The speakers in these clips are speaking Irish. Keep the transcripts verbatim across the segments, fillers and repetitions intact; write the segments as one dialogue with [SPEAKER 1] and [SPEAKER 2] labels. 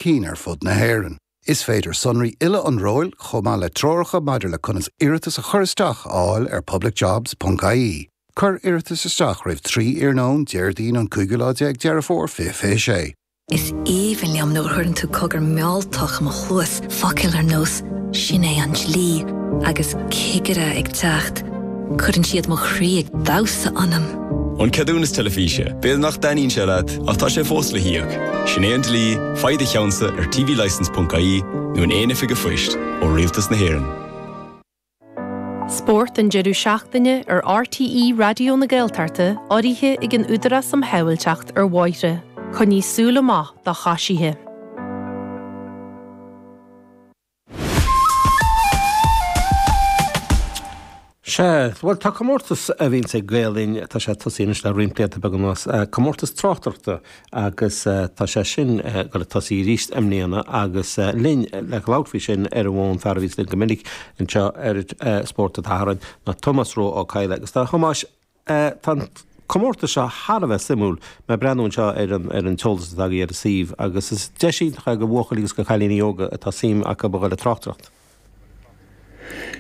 [SPEAKER 1] cinn ar fud na hÉireann. Is féidir sonraí uile an róil chomh maith le treoracha maidir le conas iarratas a chur isteach a fháil ar publicjobs.ie. Cuir iarratas isteach roimh trí iarnóin Déardaoin an cúigiú lá déag Deireadh Fómhair fiche fiche sé.
[SPEAKER 2] Is aoibhinn liom nuair a chuireann tú cogar mealltach i mo chluas focail ar nós sin é an dlí agus cigire ag teacht. Cuireann siad mo chroí ag damhsa ionam.
[SPEAKER 3] An ceadúnas teilifíse, B'fhéidir nach dtaitníonn sé leat ach tá sé fós le híoc. Sin é an dlí, faigh do cheannsa ar tvlicence.ie nó in aon oifig phoist ó Rialtas na hÉireann.
[SPEAKER 4] Spórt an deireadh seachtaine ar RTÉ Raidió na Gaeltachta urraithe ag an Údarás um Shábháilteacht ar Bhóithre. Coinnigh súil amach do choisithe.
[SPEAKER 5] Sea, bhuel tá comórtas a bhíonns ag Gael Linn, tá sé tosaithe anois le roinnt blianta beaga anuas, comórtas tráchtaireachta agus tá sé sin ag dul ag tosaí arís i mbliana agus linn le labhairt faoi sin ar an bhfón fear a bhíonns linn go minic anseo ar Spórt an tSathairn ná Tomás Ró Ó Cadhla agus a Thomáis tá an comórtas seo thar a bheith suimiúil, mé ag breathnú anseo ar an ar an t-eolas atá agaibh ar an suíomh agus is deis iontach é do bhuachaillí agus do chailíní óga atá suim acu a dhul ag tráchtaireacht.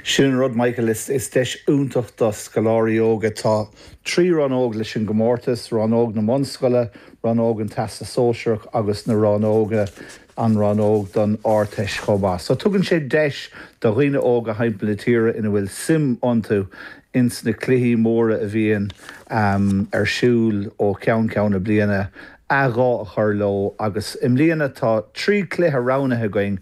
[SPEAKER 6] Sin an rud, Michael, is deis iontach do scoláirí óga. Tá trí rannóg leis an gcomórtas, rannóg na mbunscoile, rannóg an Teastas Sóisearach agus na rannóga, an rannóg don Ardteist chomh maith. So tugann sé deis do dhaoine óga thimpeall na tíre ina bhfuil suim iontu ins na cluichí móra a bhíonn ar siúl ó cheann ceann na bliana a ghuth a chur leo agus i mbliana tá trí chluiche roghnaithe againn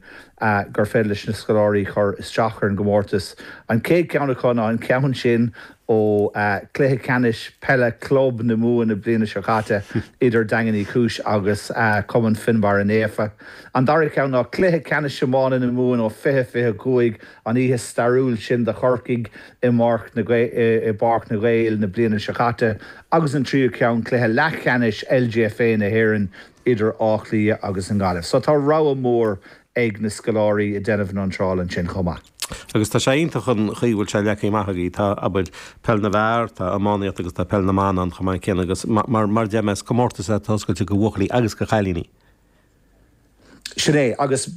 [SPEAKER 6] gur féidir leis na scoláirí cur isteach ar an gcomórtas. An chéad cheann acu ná an ceann sin ó chluiche ceannais peile club na Mumhan na bliana seo caite idir Daingean Uí Chúis agus Cumann Fionnbarra Naofa. An dara ceann ná cluiche ceannais iomána na Mumhan ó fiche fiche cúig, an oíche stairiúil sin do Chorcaigh i bPáirc na i bPáirc na nGael na bliana seo caite agus an tríú ceann, cluiche leathcheannais LGFA na hÉireann idir Áth Cliath agus an Ghaillimh. So tá rogha mór ag na scoláirí ag déanamh na n-iontrála ansin chomh maith.
[SPEAKER 5] Agus tá sé iontach an chaoi a bhfuil sé leagtha amach agaibh. Tá, abair, peil na bhfear, tá iománaíocht agus tá peil na mban ann chomh maith céanna agus mar mar a deir mé is comórtas é atá oscailte do bhuachaillí agus do chailíní.
[SPEAKER 6] Sin é, agus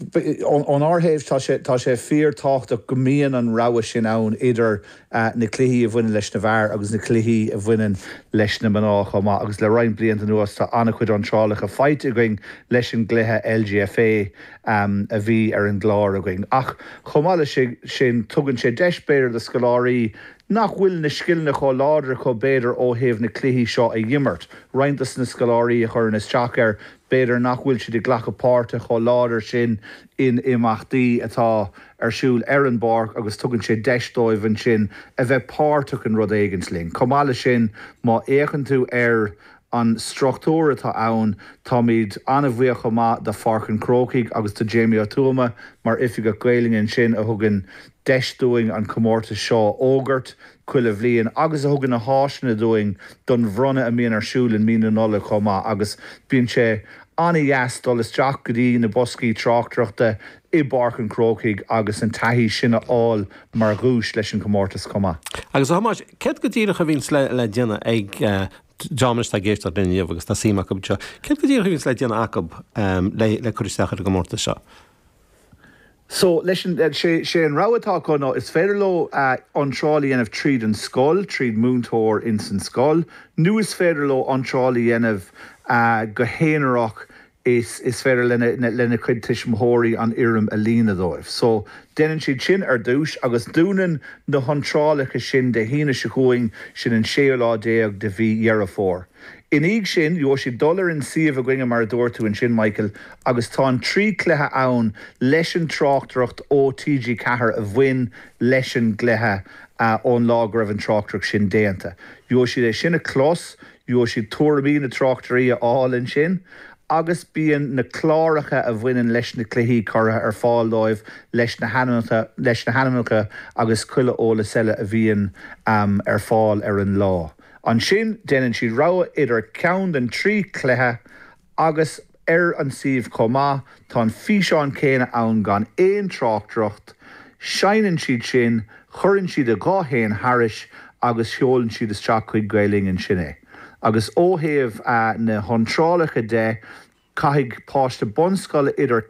[SPEAKER 6] ónár thaobh tá sé tá sé fíor tábhachtach go mbíonn an rogha sin ann idir na cluichí a bhaineann leis na bhfear agus na cluichí a bhaineann leis na mná chomh maith agus le roinnt blianta anuas tá an-chuid iontrálacha faighte againn leis an gcluiche LGFA a bhí ar an gclár againn. Ach chomh maith leis sin tugann sé deis b'fhéidir do scoláirí nach bhfuil na scileanna chomh láidir acu b'fhéidir ó thaobh na cluichí seo a dh'imirt. Roinnt dos na scoláirí a chuireann isteach air, b'fhéidir nach bhfuil siad ag glacadh páirte chomh láidir sin in imeachtaí atá ar siúl ar an bpáirc agus tugann sé deis dóibh ansin a bheith páirteach in rud éigint linn. Chomh maith leis sin, má fhéachann tú ar an struchtúr atá ann, táimid an-bhuíoch chomh maith do Pháirc an Chrócaigh agus do Jamie Ó Tuama mar Oifigeach Gaelainne ansin a thugann deis dúinn an comórtas seo a fhógairt chuile bhliain agus a thugann na háiseanna dúinn don bhronnadh a mbíonn ar siúl in mí na Nollag chomh maith agus bíonn sé an-dheas dul isteach go dtí na boscaí tráchtaireachta i bPáirc an Chrócaigh agus an taithí sin a fháil mar dhuais leis an chomórtas chomh maith.
[SPEAKER 5] Agus a Thomáis, céard go díreach a bhíonns le déanamh ag dream atá ag éisteacht linn inniu agus tá suim acu anseo, céard go díreach a bhíonns le déanamh acu le cur isteach ar an gcomórtas seo?
[SPEAKER 6] So, leis an, sé, sé an rogha atá acu ná is féidir leo iontráil a dhéanamh tríd an scoil, tríd múinteoir ins an scoil, nó is féidir leo iontráil a dhéanamh go haonarach, is, is féidir lena, lena cuid tuismitheoirí an fhoirm a líonadh dóibh. So, déanann siad sin ar dtús agus dúnann na hiontrálacha sin Dé hAoine seo chugainn, sin an séú lá déag de mhí Dheireadh Fómhair. Ina dhiaidh sin, gheobhaidh siad dul ar an suíomh againne mar a dúirt tú ansin, Michael, agus tá an trí chluiche ann leis an tráchtaireacht ó TG Ceathair a bhain leis an gcluiche ón lá go raibh an tráchtaireacht sin déanta. Gheobhaidh siad é sin a chlos, gheobhaidh siad tuairimí na dtráchtairí a fháil ansin agus bíonn na cláracha a bhaineann leis na cluichí curtha ar fáil dóibh leis na hainmneacha, leis na hainmneacha agus chuile eolas eile a bhíonn ar fáil ar an lá. Ansin, déanann siad rogha idir ceann den trí chluiche agus ar an suíomh chomh maith, tá an físeán céanna ann gan aon tráchtaireacht. Seinneann siad sin, cuireann siad a ghuth féin thairis agus seolann siad isteach chuig Gael Linn ansin é. Agus ó thaobh na hiontrálacha de, Caithfidh páiste bunscoile idir